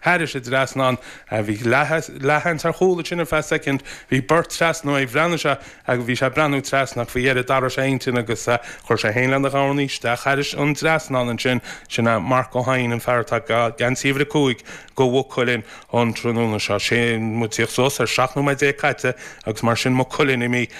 thairis an dtrasnán. Bhí leathsheans ar chúl ansin ar feadh soicind. Bhí beirt trasna uaidh. Bhreathnaigh sé agus bhí sé ag breathnú trasna ach faoi dheireadh d'athraigh sé a intinn agus chuir sé féin lena dhorn í isteach thairis an dtrasnán ansin. Sin é Marc Ó hEidhin, an fear atá ag geansaí uimhir 5 do Mhaigh Cuilinn an tráthnóna seo. Sé muid ag tíocht suas ar 17 nóiméad caite agus mar sin Maigh Cuilinn imithe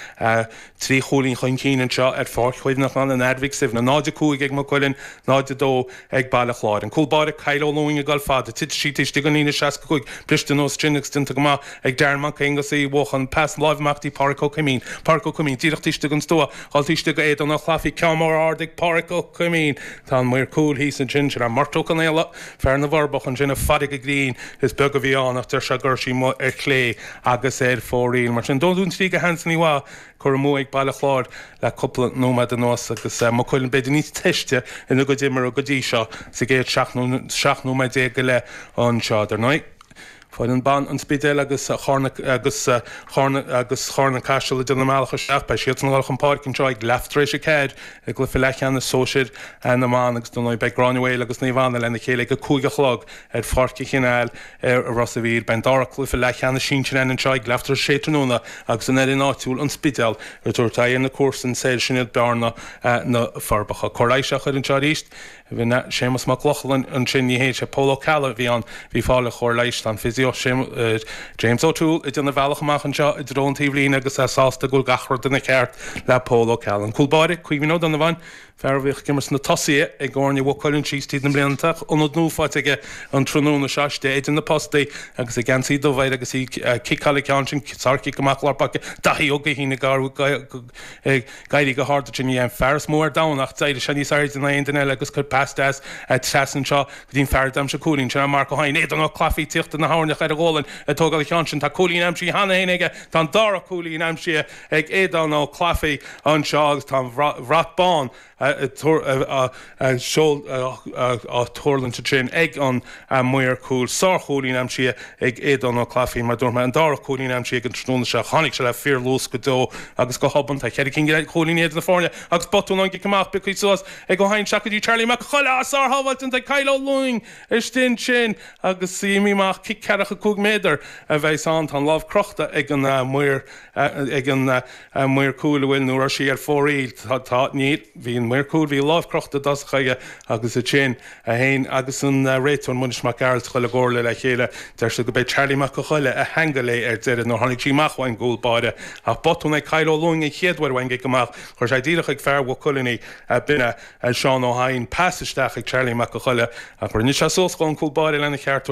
3 chúilín chun cinn anseo ar Pháirc Chuimhneacháin an Athar Mhic Suibhne. 0-5 ag Maigh Cuilinn, 0-2 ag Baile Chláir. An cúl báire Kyle Ó Lúing ag dul fada. Titfidh sí taobh istigh den líne 65. Briste anuas ansin agus déanta go maith ag Darren Mac Aonghusa Uí Bhuacháin. Pas láimhe amach dtí Páraic Ó Coimín. Páraic Ó Coimín díreach taobh istigh den stua. Dhul taobh istigh go Aodán Ó Clafaí. Ceann mór ard ag Páraic Ó Coimín. Tá an maor cúil thíos ansin. Sin é Murt Ó Conaola, fear na bhForbach ansin ag faire go grinn. Is beag a bhí ann ach deir sé go raibh sí amuigh ar chlé agus ar fóraoil. Mar sin, 2-3 do Anthony Waugh, curtha amú ag Baile Chláir le cúpla nóiméad anuas agus Maigh Cuilinn b'fhéidir níos teiste ina gcuid imeartha go dtí seo sa gcéad 17 nóiméad go leith anseo. Dar ndóigh, foireann ban an Spidéil agus Charna agus Charna agus Charna Caiseal ag déanamh a mbealach isteach. Beidh siadsan ag dul chun páirce anseo ag leath tar éis a 4 i gcluiche leathcheannais sóisir na mban agus dar ndóigh beidh Gráinne Mhaol agus Naomh Anna lena chéile ag a 5 a chlog ar Pháirc an Chanáil i Ros a' Mhíl. Beidh an dara cluiche leathcheannais sinsir againn anseo ag leath tar éis a sé tráthnóna agus an fhoireann áitiúil, An Spidéal, ag tabhairt aghaidh ar na comharsana soir, sin iad Bearna, Na Forbacha. Cóir leighis á chur anseo arís. Bhí Séamus Mac Lochlainn ansin, ní hé, sé Pól Ó Ceallaigh a bhí ann, bhí fáil ar chóir leighis. Tá an physio James O'Toole ag déanamh a bhealach amach anseo i dtreo an taobhlíne agus é sásta go bhfuil gach rud ina cheart le Pól Ó Ceallaigh. An cúl báire, Caoimhín Ó Donnabháin, Fear a bhíodh ag imirt sna tosaithe ag foirne Mhaigh Cuilinn síos tríd na blianta ach ionad nua faighte aige an tráthnóna seo istigh idir na postaí agus an geansaí dubh air agus í ag ciceáil an ceann sin, sárchic amach lár páirce, Daithí Ó Guithín ag éirí go hard ansin, ní hé an fear is mó ar domhan ach d'éirigh sé níos airde ná aon duine eile agus chuir pas deas trasna anseo go dtí an fear a d'aimsigh an cúilín, sin é Marc Ó hEidhin, Aodán Ó Clafaí ag tíocht ina thoirneach ar a ghualainn ag tógáil an cheann sin, tá cúilín aimsithe cheana féin aige, tá an dara cúilín aimsithe ag Aodán Ó Clafaí anseo agus tá an bhrat bán á tuirlingt ansin ag an maor cúil. Sár-chúilín aimsithe ag Aodán Ó Clafaí, mar dúirt mé, an dara cúilín aimsithe aige an tráthnóna seo. Tháinig sé le fíorluas go deo agus go hobann. Tá cheithre cinn de chúilíní idir na foirne agus botún ón gcic amach pioctha suas ag Ó hEidhin isteach go dtí Charlie Mac Coille. Sár-shábháil déanta ag Kyle Ó Lúing istigh ansin agus imí amach cic ceathracha 5 méadar a bheas ann. Tá an lámh crochta ag an maor ag an maor cúil, an bhfuil, nó raibh sí ar fóraoil? Tá, tá, níl, bhí an maor cúil, bhí a lámh crochta i dtosach aige agus ansin é féin agus an réiteoir Muiris Mac Gearailt a dhul i gcomhairle le chéile. Deir siad go b'é Charlie Mac a' Choille a cheangail é ar deireadh nuair tháinig sí amach uaidh an gcúl báire. Ach botún ag Kyle Ó Lúing an chéad uair uaidh an gcic amach. Chuir sé díreach ag fear Mhaigh Cuilinn í, b'in é Seán Ó hEidhin. Pas isteach ag Charlie Mac a' Choille ach rinne sé suas dhó an cúl báire lena cheart.